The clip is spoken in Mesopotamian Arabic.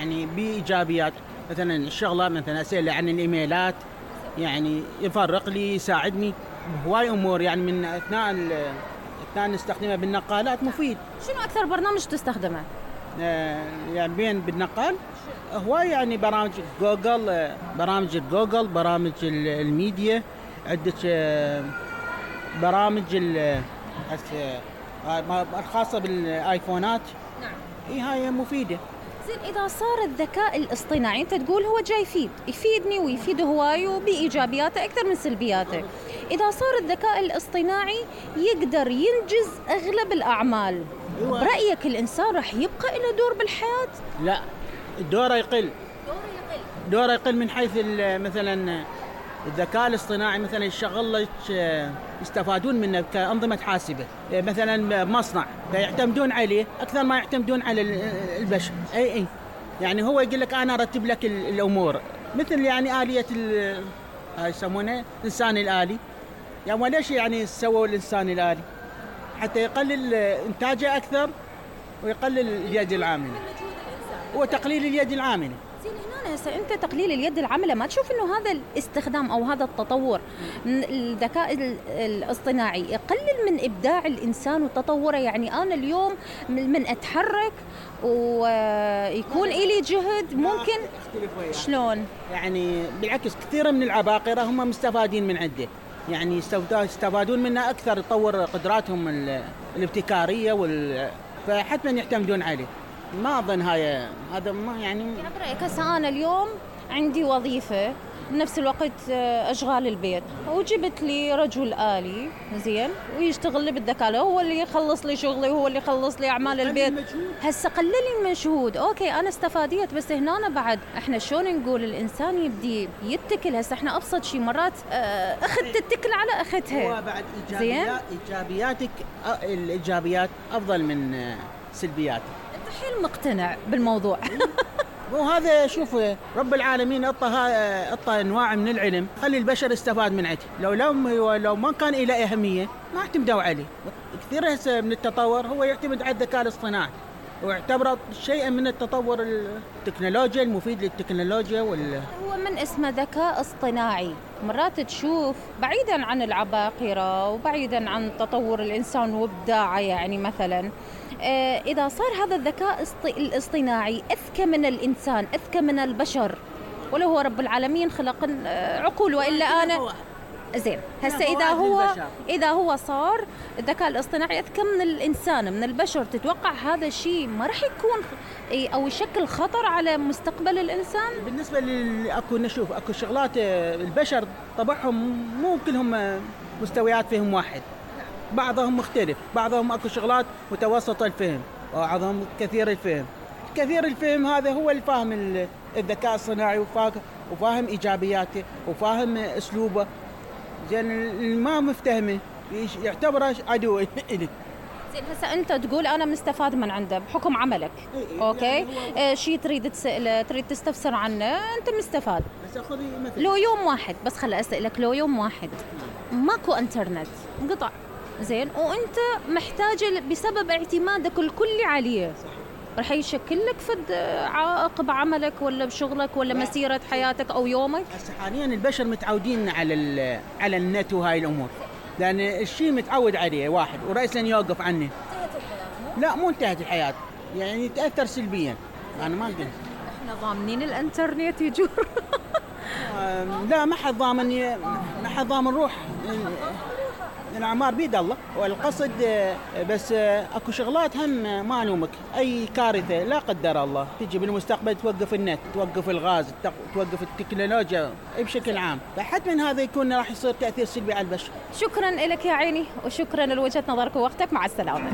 يعني بإيجابيات. مثلا الشغلة مثلا أسأل عن الإيميلات، يعني يفرق لي يساعدني بهواي أمور، يعني من أثناء نستخدمه بالنقالات مفيد. شنو أكثر برنامج تستخدمه؟ يعني بين بالنقال هواي، يعني برامج جوجل، برامج الميديا، عدة برامج الخاصة بالآيفونات. نعم. هاي مفيدة. زين، إذا صار الذكاء الاصطناعي أنت تقول هو جاي يفيدني ويفيد هواي وبإيجابياته أكثر من سلبياته. إذا صار الذكاء الاصطناعي يقدر ينجز أغلب الأعمال، برأيك الإنسان راح يبقى له دور بالحياة؟ لا، دوره يقل من حيث مثلا الذكاء الاصطناعي مثلا يشغل لك يستفادون منه كأنظمة حاسبة، مثلا مصنع فيعتمدون عليه أكثر ما يعتمدون على البشر. أي يعني هو يقول لك أنا أرتب لك الأمور، مثل يعني آلية يسمونه الإنسان الآلي. يعني وليش يعني سووا الإنسان الآلي؟ حتى يقلل إنتاجه أكثر ويقلل اليد العاملة، وتقليل اليد العاملة. زين، هنا هسه أنت تقليل اليد العاملة ما تشوف إنه هذا الاستخدام أو هذا التطور من الذكاء الاصطناعي يقلل من إبداع الإنسان وتطوره؟ يعني أنا اليوم من أتحرك ويكون إلي جهد ممكن شلون؟ يعني بالعكس كثير من العباقرة هم مستفادين من عنده، يعني يستفادون منه أكثر، يطور قدراتهم الابتكارية فحتما يعتمدون عليه. ما أظن هذا ما يعني برأيك هسه أنا اليوم عندي وظيفة بنفس الوقت أشغال البيت، وجبت لي رجل آلي زين ويشتغل لي بالذكاء، هو اللي يخلص لي شغلي وهو اللي يخلص لي أعمال البيت. هسه قلل لي المجهود، أوكي أنا استفاديت، بس هنا بعد إحنا شلون نقول الإنسان يبدي يتكل؟ هسه إحنا أبسط شيء مرات أخذ تتكل على أختها. هو بعد الإيجابيات أفضل من سلبياتك. أنت حيل مقتنع بالموضوع. وهذا شوف رب العالمين أعطى أنواع من العلم خلي البشر استفاد من عنده. لو ما كان له أهمية ما اعتمدوا عليه. كثير من التطور هو يعتمد على الذكاء الاصطناعي، واعتبره شيئا من التطور التكنولوجيا المفيد للتكنولوجيا هو من اسمه ذكاء اصطناعي، مرات تشوف بعيدا عن العباقرة وبعيدا عن تطور الإنسان وابداعه، يعني مثلا إذا صار هذا الذكاء الاصطناعي أذكى من الإنسان، أذكى من البشر، ولو هو رب العالمين خلق عقول وإلا أنا زين. هسه إذا هو صار الذكاء الاصطناعي أذكى من الإنسان من البشر، تتوقع هذا الشيء ما راح يكون أو يشكل خطر على مستقبل الإنسان؟ بالنسبة أكو شغلات البشر طبعهم مو كلهم مستويات فهم واحد، بعضهم مختلف، بعضهم أكو شغلات متوسطة الفهم، وبعضهم كثير الفهم هذا هو الفاهم الذكاء الصناعي، وفاهم إيجابياته وفاهم أسلوبه. زين ما مفتهمه يعتبره عدو إلك. زين هسه أنت تقول أنا مستفاد من عنده بحكم عملك، أوكي شيء تريد تسأله تريد تستفسر عنه أنت مستفاد. بس أخذي مثلا لو يوم واحد بس خلي أسألك، لو يوم واحد ماكو إنترنت انقطع زين وأنت محتاج بسبب اعتمادك الكلي عليه، رح يشكل لك فد عائق بعملك ولا بشغلك ولا مسيرة حياتك أو يومك؟ هسه حاليا البشر متعودين على النت وهاي الأمور، لأن الشيء متعود عليه واحد ورئيسا يوقف عنه. انتهت الحياة؟ لا مو انتهت الحياة، يعني تأثر سلبيا. أنا ما أقول إحنا ضامنين الإنترنت يجور. لا ما حد ضامن روح، الأعمار بيد الله، والقصد بس أكو شغلات هم ما نومك، أي كارثة لا قدر الله تجي بالمستقبل توقف النت، توقف الغاز، توقف التكنولوجيا بشكل عام، فحتى من هذا يكون راح يصير تأثير سلبي على البشر. شكرا لك يا عيني، وشكرا لوجهة نظرك ووقتك، مع السلامة.